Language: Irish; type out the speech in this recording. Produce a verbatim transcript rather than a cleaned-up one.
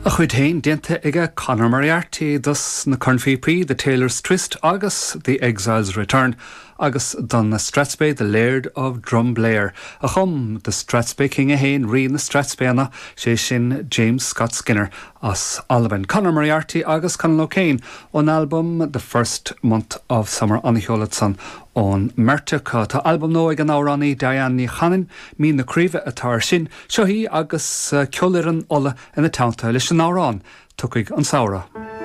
A chuid féin déanta aige Conor Moriarty dos na cornphíopaí, The Taylor's Twist agus The Exile's Return agus don na Strathspey The Laird of Drumblair a chum The Strathspey King a haon rí na Strathspeyanna sé sin James Scott Skinner as Albain. Conor Moriarty agus Conal O'Kane ón album The First Month of Summer an-cheol ansan ón mbeirt acu. Tá albam nua ag an amhránaí Diane Ní Chanainn Mín na Craoibhe atá air sin seo í agus eh, Ceolfhoireann Uladh ina teannta leis an amhrán tiocfaidh an samhradh.